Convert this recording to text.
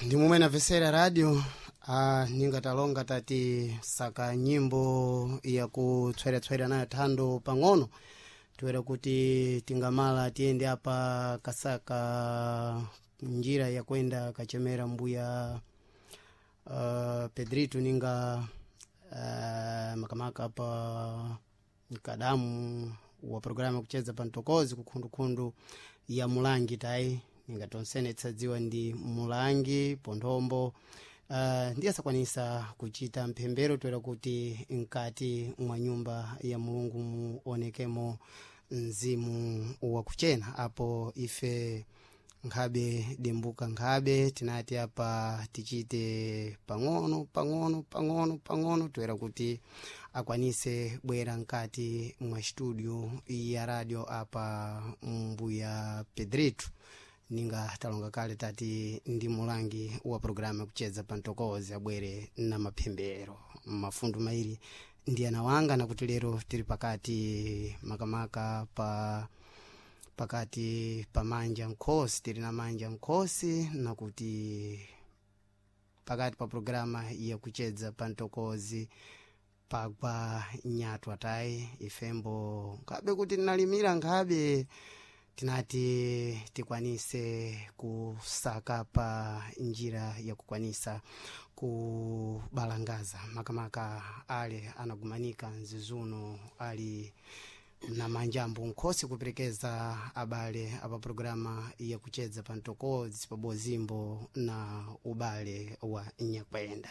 Ndi momwe namvesera radio, ningatalonga tati saka nyimbo yakutsweratswera nayo thando pang'ono, toera kuti tingamala tiyende apa kasaka njira yakwenda kachemera mbuya Pedrito ninga makamaka pa mkadamu wa programu yakucheza pa mtokozi kukhundukhundu ya Mulangi tayi, ninga tonsene tsadziwa ndi Mulangi ponthombo. Ndiye asakwanisa kuchita mphembero toera kuti mkati mwa nyumba ya Mulungu muonekemo mzimu wakuchena. Apo ife nkhabe dembuka nkhabe tinati apa tichite pang'ono pang'ono pang'ono pang'ono toera kuti akwanise bwera mkati mwa studio ya radio apa mbuya Pedrito, ninga talonga kale tati ndi mulangi wa programu yakucheza pa mtokozi abwere na maphembero mafundu mairi ndi ana wanga, nakuti lero tili pakati makamaka pa pakati pa manja nkhosi, tili na manja nkhosi, nakuti pakati pa programa yakucheza pa mtokozi pagwa nyatwa tayi, ifembo nkhabe kuti tinalimira nkhabe tinati tikwanise kusaka pa njira yakukwanisa kubalangaza makamaka ale anagumanika mzizuno ali na manjambo nkhosi kuperekeza abale apa programa yakucheza pa mtokozi pabozimbo na ubale wa nyakwenda.